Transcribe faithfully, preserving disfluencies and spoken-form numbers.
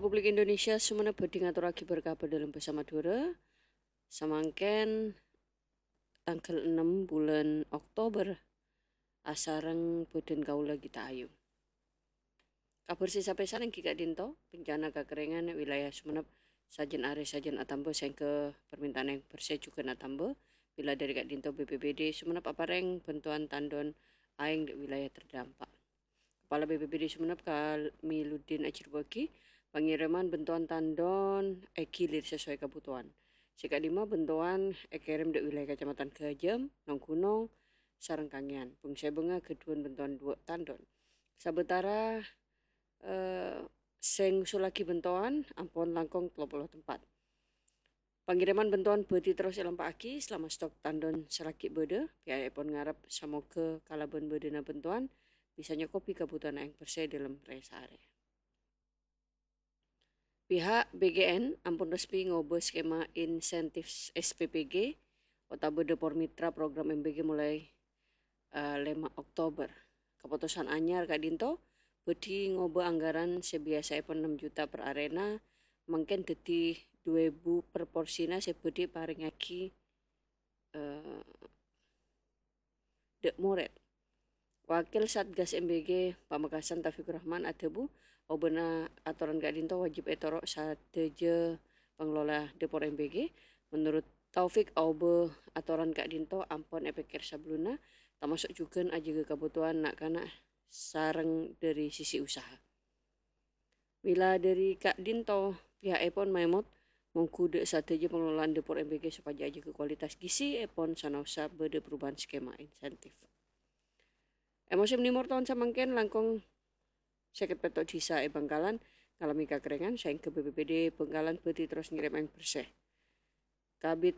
Republik Indonesia Sumenep bhâdhi ngatorraghi berkabar dâlem bhâsa Madhurâ. Samangkèn tangghâl ennem bulân Oktober, asareng bhâdhân kaulâ Gita Ayu. Kabhâr sè sapèsan èngghi ka'dinto, bencana kakèringan è wilayah Sumenep sajân arè sajân atamba saèngghâ parmèntaan aèng bersè jhughân atamba. Mèla dâri ka'dinto B P B D Sumenep aparèng bhântowan tandon aèng dâ' wilayah terdampak. Kepala B P B D Sumenep Kamiluddin ajhârbâ'âghi pangèrèman bhântowan tandon èghilir sesuai kabhutowan. Sè ka'dimma bhântowan èkèrèm dâ' wilayah Kacamatan Ghâjâm, Nonggunong, sareng Kangèan. Bâng-sèbângnga ghâdhuwân bhântowan duwâ' tandon. Sabâtara, eh, sè ngusullaghi bhântowan ampon langkong tello polo tempat. Pangèrèman bhântowan bhâdhi terros èlampa'aghi salama stok tandon sè lagghi' bâdâ. Piha'èpon ngarep samoghâ kalabân bâdâna bhântowan bisa nyokobhi kabhutowan aèng bersè dâlem rè-saarè. Pihak B G N ampon resmi ngobâ skema insentif S P P G otabâ dâpor mitra program M B G molaè, eh, lèma Oktober. Kapotosan anyar ka'dinto bhâdhi ngobâ anggaran sè biyasaèpon ennem juta per arèna, mangkèn dhâddhi du èbu per porsina sè bhâdhi èparèngaghi, eh, dâ' morèd. Wakil Satgas M B G Pamekasan Taufikur Rahman adhâbu, obâna atoran ka'dinto wajib ètoro' sadhâjâ pangelola dâpor M B G. Menurut Taufik, obâ atoran ka'dinto ampon èpèkkèr sabellunna, tamaso' jhughân ajâgâ kabhutowan na'-kana' sareng dâri sisi usaha. Mèla dâri ka'dinto, piha'èpon maèmot mongghu dâ' sadhâjâ pangelolaan dâpor M B G sopajâ ajâgâ kualitas gisièpon sanaossa bâdâ perubahan skema insentif. È mosèm nèmor taon samangkèn, langkong sèket pètto' dhisa è Bangkalan ngalamè kakèringan, saèngghâ B P B D Bangkalan bhâdhi terros ngèrèm aèng bersè. Kabid